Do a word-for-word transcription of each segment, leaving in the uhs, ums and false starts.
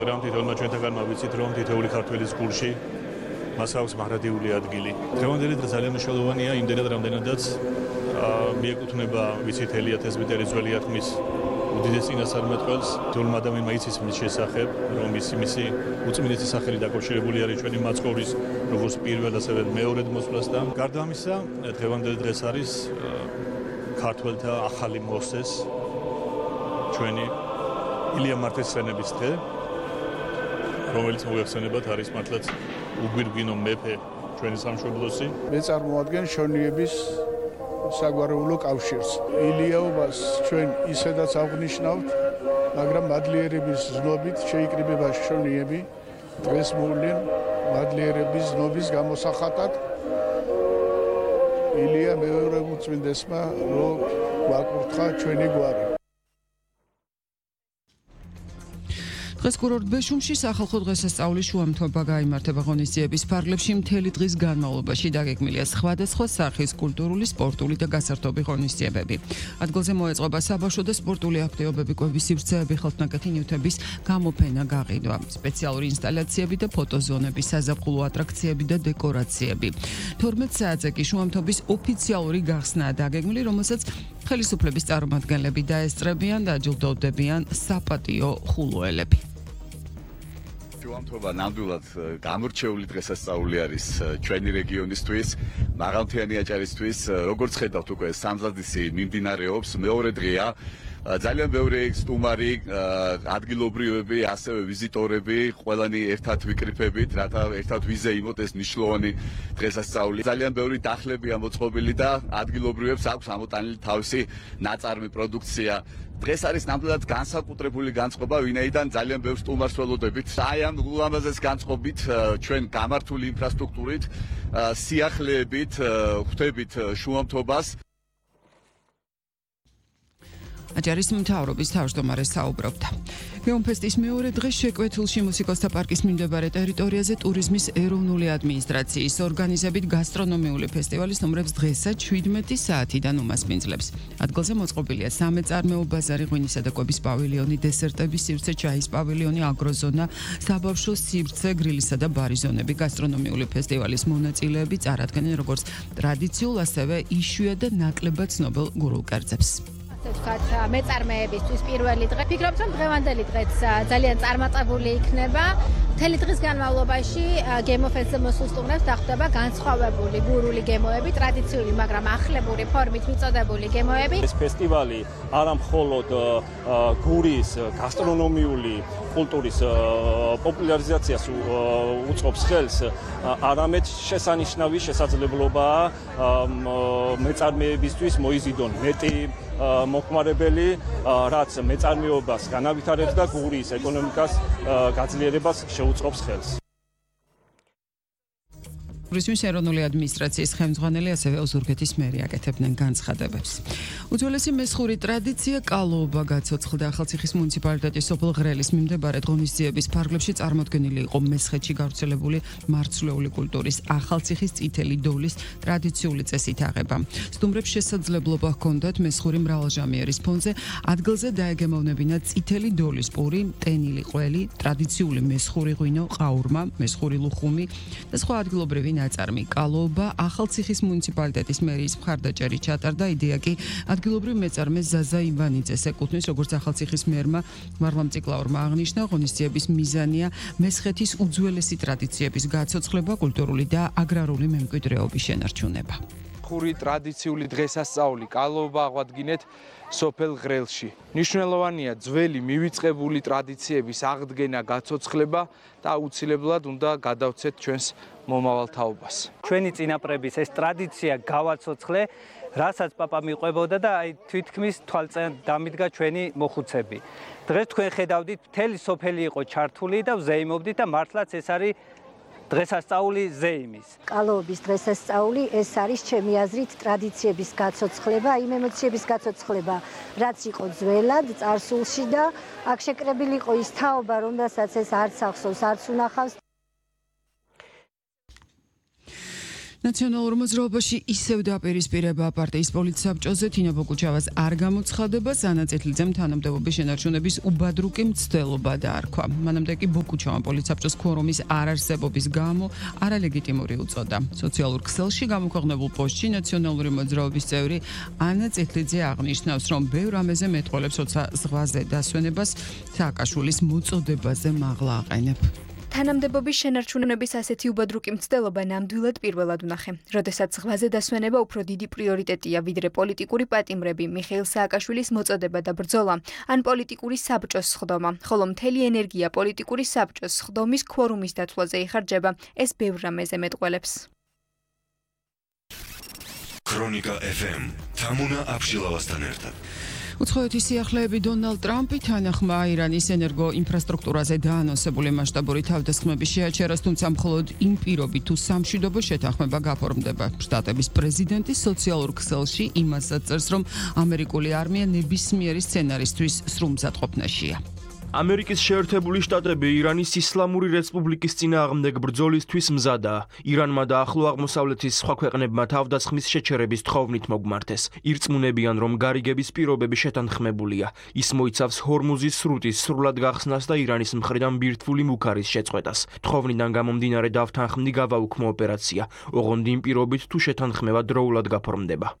რამ თითოეულმა ჩვენთაგანმა ვიცით, რომ თითოეული ქართველის გულში მას აქვს მარადიული ადგილი. დღევანდელი დღე ძალიან მნიშვნელოვანია იმდენად, რამდენადაც მიეკუთვნება ვიცით ელიათ ესბიტერის ძველი ათმის უდიდეს წინასწარმეტყველს. თითოეულმა ადამიანმა იცის მის შესახებ, რომ მისი მისი უწმინდესი სახელი დაკავშირებული არის ჩვენი მაცხოვრის როგორც პირველ ასევე მეორედ მოსვლასთან. გარდა ამისა, დღევანდელი დღეს არის ქართველთა ახალი მოსეს ჩვენი ილია მართლისმცემლის დღე, რომელიც მოიხსენებათ არის მართლაც უგვირგვინო მეფე ჩვენი სამშობლოსი. მე წარმოადგენ შონიების საგვარეულო კავშირს. ილიაობას ჩვენ ისედაც აღნიშნავთ, მაგრამ მადლიერების ზნობით შეიკრიბება შონიები. დღეს მოვლენ მადლიერების ზნობის გამოსახატად ილია მეორე უწმინდესმა რო გვაკურთხა ჩვენი გვარი. დღეს კურორტ ბეშუმში სახალხო დღესასწაულის შუამთვება გაიმართება ღონისძიების ფარგლებში. მთელი დღის განმავლობაში დაგეგმილია სხვადასხვა სახის კულტურული, სპორტული და გასართობი ღონისძიებები. ადგილზე მოეწყობა საბავშვო და სპორტული აქტივობები, კვების სივრცეები, ხელთნაკეთი ნივთების გამოფენა, გაყიდვა, სპეციალური ინსტალაციები და ფოტოზონები, საზაფხულო ატრაქციები და დეკორაციები. თორმეტ საათზე კი შუამთვების ოფიციალური გახსნაა დაგეგმილი, რომელსაც ხელისუფლების წარმომადგენლები დაესწრებიან და აჯილდოვდებიან საპატიო ხულუელები. შუამთვება ნამდვილად გამორჩეული დღესასწაული არის ჩვენი რეგიონისთვის, მაღალმთიანი აჭარისთვის. როგორც ხედავთ, უკვე სამზადისი მიმდინარეობს, მეორე დღეა. ძალიან ბევრი სტუმარი, ადგილობრივები, ასევე ვიზიტორები, ყველანი ერთად ვიკრიფებით, რათა ერთად ვიზეიმოთ ეს მნიშვნელოვანი დღესასწაული. ძალიან ბევრი დახლებია მოწყობილი და ადგილობრივებს აქვს ამოტანილი თავისი ნაწარმი პროდუქცია. დღეს არის ნამდვილად განსაკუთრებული განწყობა, ვინაიდან ძალიან ბევრ სტუმარს ველოდებით. აი ამ ულამაზეს განწყობით ჩვენ გამართული ინფრასტრუქტურით, სიახლეებით ხვდებით შუამთვებას. აჭარის მთავრობის თავმჯდომარე საუბრობდა. გეომფესტის მეორე დღე შეკვეთილში მუსიკოსთა პარკის მიმდებარე ტერიტორიაზე ტურიზმის ეროვნული ადმინისტრაციის ორგანიზებით გასტრონომიული ფესტივალის ნომრებს დღესაც შვიდმეტი საათიდან უმასპინძლებს. ადგილზე მოწყობილია სამეწარმეო ბაზარი, ღვინისა და კვების პავილიონი, დესერტების სივრცე, ჩაის პავილიონი, აგროზონა, საბავშვო სივრცე, გრილისა და ბარის ზონები. გასტრონომიული ფესტივალის მონაწილეები წარადგენენ როგორც ტრადიციულ, ასევე იშვიათ და ნაკლებად ცნობილ გურულ კერძებს. ვთქვათ, მეწარმეებისთვის პირველი დღე. ფიქრობთ, რომ დღევანდელი დღეც ძალიან წარმატებული იქნება. მთელი დღის განმავლობაში გემოფესტზე მოსულ სტუმრებს დახვდება განსხვავებული გურული გემოები, ტრადიციული, მაგრამ ახლებური ფორმით მიწოდებული გემოები. ეს ფესტივალი არა მხოლოდ გურის გასტრონომიული კულტურის პოპულარიზაციას უწყობს ხელს, არამედ შესანიშნავი შესაძლებლობაა მეწარმეებისთვის მოიზიდონ მეტი მოხმარებელი, რაც მეწარმეობას განავითარებს და გურის ეკონომიკას გაძლიერებას შეუწყობს ხელს. ტურიზმის ეროვნული ადმინისტრაციის ხელმძღვანელი, ასევე ოზურგეთის მერი აკეთებდნენ განცხადებებს. უძველესი მესხური ტრადიცია კალოობა გაცოცხლდა. ახალციხის მუნიციპალიტეტის სოფელ ღრელის მიმდებარე ღონისძიების ფარგლებში წარმოდგენილი იყო მესხეთში გავრცელებული მარცვლეული კულტურის ახალციხის წითელი დოლის ტრადიციული წესით აღება. სტუმრებს შესაძლებლობა ჰქონდათ მესხური მრავალჟამიერის ფონზე ადგილზე დაეგემოვნებინათ წითელი დოლის პური, ტენილი ყველი, ტრადიციული მესხური ღვინო, ყაურმა, მესხური ლუხუმი და სხვა ადგილობრივი ნაწარმი. კალოობა ახალციხის მუნიციპალიტეტის მერიის მხარდაჭერით ჩატარდა. იდეა კი ადგილობრივ მეწარმე ზაზა ივანიძეს ეკუთვნის, როგორც ახალციხის მერმა ვარვამ წიკლაურმა აღნიშნა, ღონისძიების მიზანია მესხეთის უძველესი ტრადიციების გაცოცხლება, კულტურული და აგრარული მემკვიდრეობის შენარჩუნება. ხური ტრადიციული დღესასწაული კალოობა აღვადგინეთ სოფელ ღრელში. მნიშვნელოვანია ძველი მივიწყებული ტრადიციების აღდგენა, გაცოცხლება და აუცილებლად უნდა გადავცეთ ჩვენს მომავალ თაობას. ჩვენი წინაპრების ეს ტრადიცია გავაცოცხლე, რასაც პაპა მიყვებოდა და აი თვითქმის თვალწინ დამიდგა ჩვენი მოხუცები. დღეს თქვენ ხედავდით, მთელი სოფელი იყო ჩართული და ვზეიმობდით და მართლაც ეს არის დღესასწაული ზეიმის. კალოობის დღესასწაული ეს არის ჩემი აზრით ტრადიციების გაცოცხლება, იმ ემოციების გაცოცხლება, რაც იყო ძველად წარსულში და აქ შეკრებილი იყო ის თაობა, რომელსაც ეს არც ახსოვს, არც უნახავს. ნაციონალურ მოძრაობაში ისევ დაპირისპირება პარტიის პოლიტსაბჭოზე თინა ბოკუჩავას არ გამოცხადება, სანაცეთლიძემ თანამდებობის შენარჩუნების უბადრუკი მცდელობა დაარქვა. მანამდე კი ბოკუჩავამ პოლიტსაბჭოს ქორუმის არარსებობის გამო არალეგიტიმური უწოდა. სოციალურ ქსელში გამოქვეყნებულ პოსტში ნაციონალური მოძრაობის წევრი ანა წეთლიძე აღნიშნავს, რომ ბევრ ამეზე მეტყველებს ზღვაზე დასვენებას სააკაშვილის მოწოდებაზე მაღლა აყენებ. თანამდებობის შენარჩუნების ასეთი უბადრუკი მცდელობა ნამდვილად პირველად ვნახე. როდესაც ზღვაზე დასვენება უფრო დიდი პრიორიტეტია, ვიდრე პოლიტიკური პატიმრები, მიხეილ სააკაშვილის მოწოდება და ბრძოლა, ან პოლიტიკური საბჭოს სხდომა, ხოლო მთელი ენერგია პოლიტიკური საბჭოს სხდომის ქორუმის დათვლაზე იხარჯება, ეს ბევრ რამეზე მეტყველებს. ქრონიკა ეფ ემ თამუნა აბშილავასთან ერთად. უცხოეთის სიახლეები დონალდ ტრამპი თანახმა ირანის ენერგო ინფრასტრუქტურაზე დაანონსებული მასშტაბური თავდასხმების შეაჩერას, თუმცა მხოლოდ იმ პირობით თუ სამშვიდობო შეთანხმება გაფორმდება. შტატების პრეზიდენტი სოციალურ ქსელში იმასაც წერს, რომ ამერიკული არმია ნებისმიერი სცენარისთვის სრულმზადყოფნაშია. ამერიკის შეერთებული შტატები ირანის ისლამური რესპუბლიკის წინააღმდეგ ბრძოლისთვის მზადაა. ირანმა და ახლო აღმოსავლეთის სხვა ქვეყნებმა თავდასხმის შეჩერების თხოვნით მოგმართეს. ირწმუნებიან, რომ გარიგების პირობები შეთანხმებულია. ის მოიცავს ჰორმუზის სრუტის სრულად გახსნას და ირანის მხრიდან ბირთვული მუქარის შეწყვეტას. თხოვნიდან გამომდინარე დავთანხმდი გავაუქმო ოპერაცია. ოღონდ იმ პირობით თუ შეთანხმება დროულად გაფორმდება.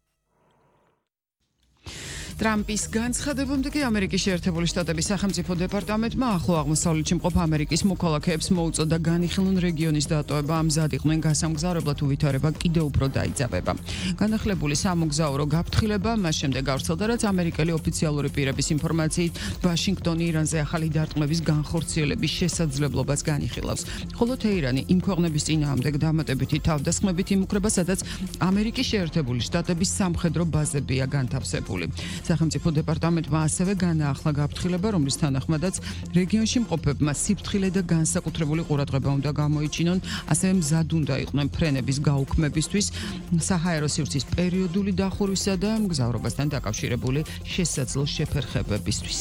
ტრამპის განცხადებამდე კი ამერიკის შეერთებული შტატების სახელმწიფო დეპარტამენტმა ახლო აღმოსავლეთში მყოფ ამერიკის მოქალაქეებს მოუწოდა განიხილონ რეგიონის დატოვება, მზად იყვნენ გასამგზავრებლად, უვითარება კიდევ უფრო დაიძაბება. განახლებული სამოგზაურო გაფრთხილება მას შემდეგ გავრცელდა, რაც ამერიკელი ოფიციალური პირების ინფორმაციით ვაშინგტონი ირანზე ახალი დარტყმების განხორციელების შესაძლებლობას განიხილავს. ხოლო თეირანი იმ ქვეყნების წინააღმდეგ დამატებითი თავდასხმებით იმუქრება, სადაც ამერიკის შეერთებული შტატების სამხედრო ბაზებია განთავსებული. სახელმწიფო დეპარტამენტმა ასევე განაახლა გაფრთხილება, რომლის თანახმადაც რეგიონში მყოფებმა სიფრთხილე და განსაკუთრებული ყურადღება უნდა გამოიჩინონ, ასევე მზად უნდა იყვნენ ფრენების გაუქმებისთვის, საჰაერო სივრცის პერიოდული დახურვისა და მგზავრობასთან დაკავშირებული შესაძლო შეფერხებებისთვის.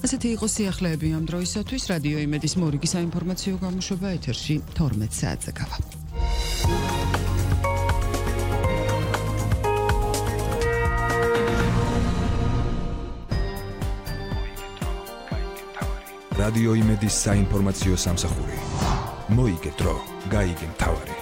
ასეთი იყო სიახლეები ამ დროისათვის. რადიო იმედის მორიგი საინფორმაციო გამოშვება ეთერში თორმეტ საათზე გავა. რადიო იმედის საინფორმაციო სამსახური. მოიგე დრო, გაიგე მთავარი.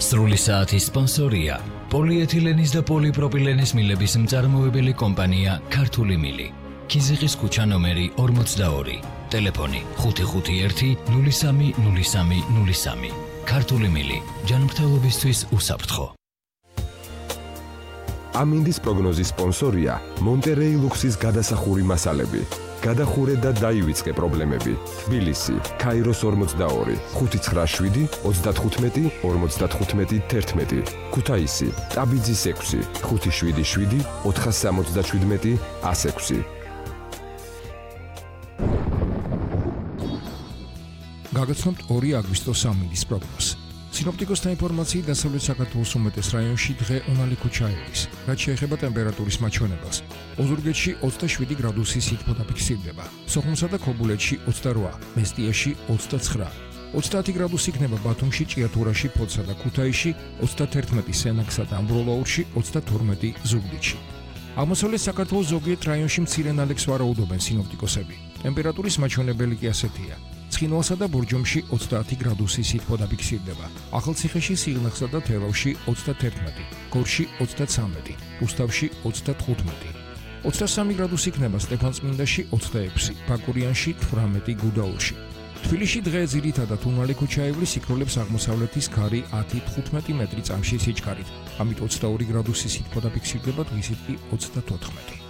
სრული საათის სპონსორია პოლიეთილენის და პოლიპროპილენის მილების მწარმოებელი კომპანია ქართული მილი. ქიზიყის ქუჩა ნომერი ორმოცდაორი. ტელეფონი ხუთი ხუთი ერთი ნული სამი ნული სამი ნული სამი. ქართული მილი. ჯანმრთელობისთვის უსაფრთხო. ამინდის პროგნოზის სპონსორია მონტერეი ლუქსის გადასახური მასალები. გადახურე და დაივიწყე პრობლემები. თბილისი, ქაიროს ორმოცდაორი, ხუთი ცხრა შვიდი ოცდათხუთმეტი ორმოცდათხუთმეტი თერთმეტი. ქუთაისი, ტაბიძის ექვსი, ხუთი შვიდი შვიდი ოთხასამოცდაშვიდმეტი ას ექვსი. გაგაცნობთ ორი აგვისტოს ამინდის პროგნოზს. სინოპტიკოსთა ინფორმაციით დასავლეთ საქართველოს უმეტეს რაიონში დღე უნალი ქუჩაევის. რაც შეეხება ტემპერატურის მაჩვენებელს, ოზურგეთში ოცდაშვიდი გრადუსი სითბო დაფიქსირდება, სოხუმსა და ქობულეთში ოცდარვა, მესტიაში ოცდაცხრა, ოცდაათი გრადუსი იქნება ბათუმში, ჭიათურაში, ფოთსა და ქუთაისში, ოცდათერთმეტი სენაკსა და ამბროლაურში, ოცდათორმეტი ზუგდიდში. აღმოსავლეთ საქართველოს ზოგიერთ რაიონში მცირე ნალექს ვარაუდობენ სინოპტიკოსები. ტემპერატურის მაჩვენებელი კი ასეთია. ცხინვალსა და ბორჯომში ოცდაათი გრადუსი სითბო დაფიქსირდება. ახალციხეში, სიღნაღსა და თელავში ოცდათერთმეტი, გორში ოცდაცამეტი, რუსთავში ოცდათხუთმეტი. ოცდასამი გრადუსი იქნება სტეფანწმინდაში, ოცდაექვსი, ბაკურიანში, თვრამეტი, გუდაურში. თბილისში დღე ძირითადად უნალი ქუჩაევლის იქროლებს აღმოსავლეთის ქარი ათი თხუთმეტი მეტრი წამში სიჩქარით. ამით ოცდაორი გრადუსი სითბო დაფიქსირდება, დღისით კი ოცდათოთხმეტი.